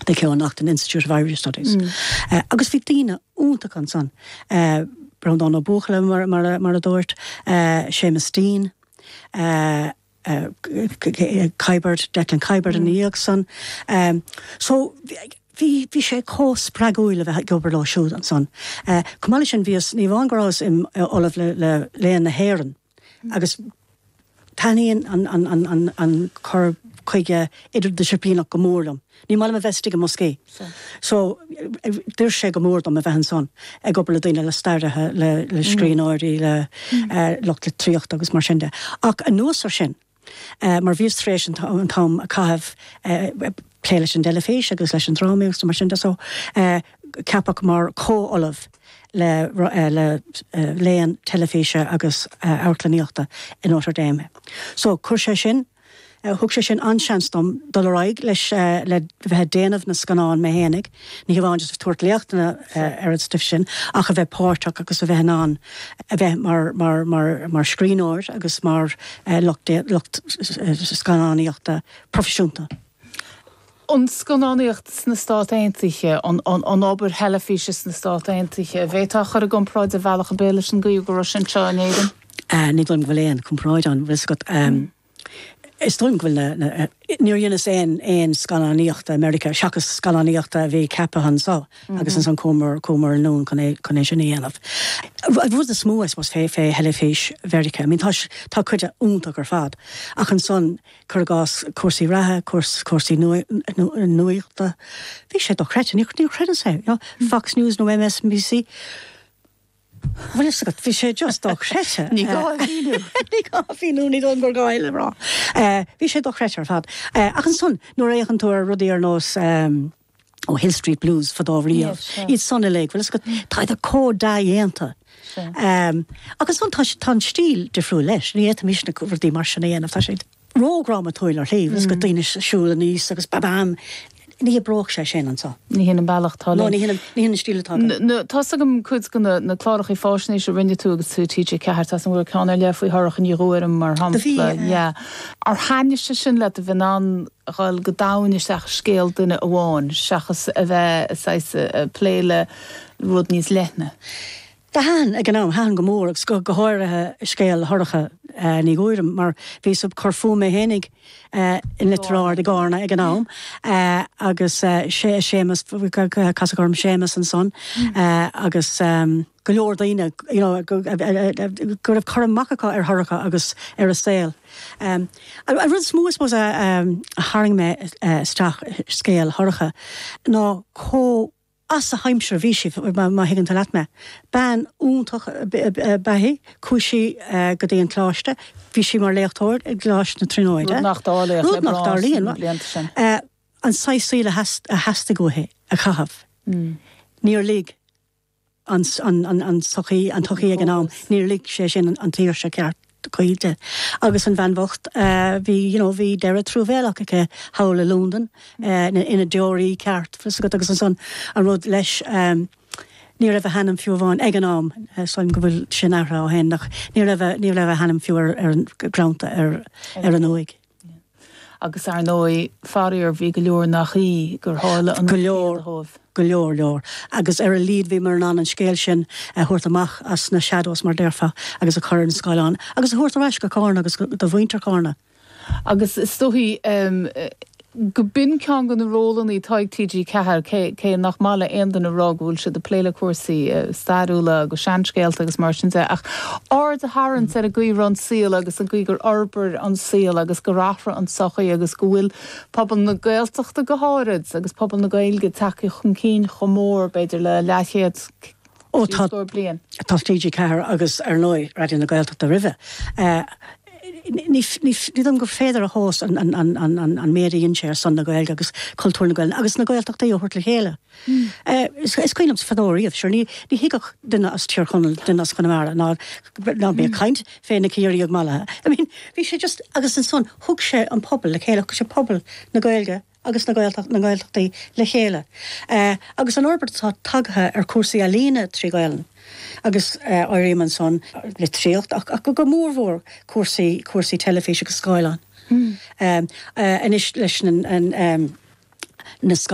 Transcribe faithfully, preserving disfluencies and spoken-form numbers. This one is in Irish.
The Keough-Naughton Institute of Irish Studies. Mm. Uh, agus bhí daoine iontach ansan. Uh, Breandán Ó Buachalla mar, mar, mar a dúirt, uh, Seamus Deane, uh, uh, Kiberd, Declan Kiberd mm. an san. Um, so bhí bhí sé chomh spreagúil a bheith ag obair leo siúd ansan. Uh, Chomh sin bhíos ní amháin go rabhas im ollamh le, le léann na hÉireann. Mm. Agus taitníonn an, an, an, an, an cur chuige idirdhisciplíneach go mór liom. Ní maith liom a bheith istigh i mbosca. So d'oir sé go mór dom a bheith ansan ag obair le daoine le staraithe le, le mm. scríbhneoirí le mm. uh, lucht litríochta agus mar sin de. Ach anuas ar sin, uh, mar bhíos tar éis an t-am a chaitheamh uh, plé leis an teilifís agus leis an dráma agus mar sin de so uh, ceapadh mar comh-ollamh le, uh, le uh, léann teilifíse agus uh, amharclannaíochta in Notre Dame. So chuir sé sin thug sé sin an-seans dom dul ar aghaidh leis le bheith déanamh na scannán mé fhéinig, ní hamháin just tabhairt léachtanna ar an stuif sin ach a bheith páirteach agus a bheith an a bheith mar, mar, mar, mar scríbhneoir agus mar lucht lucht scannánaíochta proifisiúnta. An scannánaíocht sna Stáit Aontaithe an, an, an obair theilifíse sna Stáit Aontaithe, bhféadfá a chur i gcomparáid de bhealach ar bith leis an gcaoi go raibh sin seo in Éirinn? Uh, ní dóigh liom go bhfuil aon comparáid ann um, Is dóigh liom go bhfuil níor dheineas aon aon scannánaíochta America seachas scannánaíochta a bhí ceaptha anseo mm -hmm. agus ansan chuamar chuamar anonn chun chun é sin a dhéanamh. Rud is mó is fé fé theilifís Mheiriceá, I mean tá tá cuid iontach ar fad ach ansan cuir i gcás cúrsaí reatha cúrsaí nuachta. Bhí sé dochreidte ní ní chreideann sé you know, Fox News nó MSNBC. Bhfuil agat bhí sé just dochreidte. Ní gá Ní gá mhíniú ní don gur gá le rá. Bhí sé dochreidte ar fad. Ach ansan nuair a fhéachann tú ar rudaí ar nós um, ó Hill Street Blues fadó riamh. Iad san uilig, bhfuil go tá a có dhéanta. Um, agus ansan tá an stíl difriúil leis, ní fhéadfaimis na rudaí mar sin a dhéanamh tá sé ródhrámatúil ar shlí, mm. go daoine siúl aníos agus babam ní oibreodh sé sin anseo. Ní hin an bealach tá ní hin an stíl atá. Tá agam cuid de na na cláracha faisnéise a rinne tú agus tú TG Ceathair tá an bhfuil ceann ar leith faoi Shorcha Ní Ghuairim mar shampla. Ar thaitnigh sé sin le a bheith an dul go domhain isteach scéal duine amháin seachas a bheith plé le rud níos leithne. Thaitin ag an am thaitin go mór agus go go háirithe scéal Shorcha uh, Ní Ghuairim mar bhíos ag cur fúm mé fhéinig uh, in Leitir Ard i gCarna ag an am uh, agus uh, sé Séamus casadh orm Séamus ansan mm. uh, agus um, go leor daoine you know, go go raibh cur amach acu ar Shorcha agus ar a saol. Um, a rud is mó suppose a, um, a tharraing mé isteach scéal Shorcha ná chomh as a haimsir bhí sí má thuigeann tú leat mé. Bean iontach ba ea í, chuaigh sí go dtí an coláiste, bhí sí mar léachtóir ag Coláiste na Tríonóide. Rud nach dtarlaíonn. An saghas saoil a theastaigh uaithi a chaitheamh. Mm. Níor lig an, an, an, an sochaí an tsochaí ag an am, níor lig sé sin an tsaoirse ceart cuí di. Agus an bhean bhocht uh, bhí you know, bhí deireadh truamhéalach aici thall i Londain uh, ina deoraí ceart agus ansan an rud leis um, ní raibh a hainm fiú amháin ag an am sílim go bhfuil sin athraithe ó shin ach ní raibh ní raibh a hainm fiú ar an greanta ar ar an uaigh. Agus ar ndóigh faraor bhí go leor nach í gur tharla an go leor go leor leor. Agus ar a laghad bhí mar an an scéal sin a thabhairt amach as na shadows mar déarfá agus a chur ar an scáileán, agus a thabhairt ar ais go Carna agus do mhuintir Charna. Agus is dóichí um, go b'in ceann de na rólanna atá ag TG Ceathair cé nach maith le aon duine a rá go bhfuil siad ag plé le cúrsaí uh, stairiúla agus seanscéalta agus mar sin de ach aird a tharraingt ar an gcaoi an saol agus an gcaoi gur fhorbair an saol agus gur athraigh an tsochaí agus go bhfuil pobal na Gaeltachta go háirid agus pobal na Gaeilge tagtha chun cinn chomh mór b'fhéidir le leathchéad Ó tá bliain. Tá TG Ceathair agus ar ndóigh Raidió na Gaeltachta roimhe. Uh, ní dom gur féidir a thomhas an, an, an, an, an, an méid a dhein sé ar son na Gaeilge agus cultúr na Gaeilge agus na Gaeltachtaí a thabhairt le chéile. Mm. Uh, is, is cuimhin liom fadó riamh sure ní ní thuigfeadh duine as Tír Chonaill duine as Conamara ná ná bí mm. caint fé na Ciarraíoch mallaithe. I mean, bhí sé just agus ansan thug sé an pobal le chéile sé pobal na Gaeilge agus na Gaeltacht na Gaeltachtaí le chéile. Uh, agus an fhorbairt atá tagtha ar cúrsaí ealaíne trí Ghaelainn. Agus uh, áirím ansan litríocht ach, ach go mórmhór cúrsaí cúrsaí teilifíse agus scáileán. Mm. Um, uh, anois leis an, an, um, na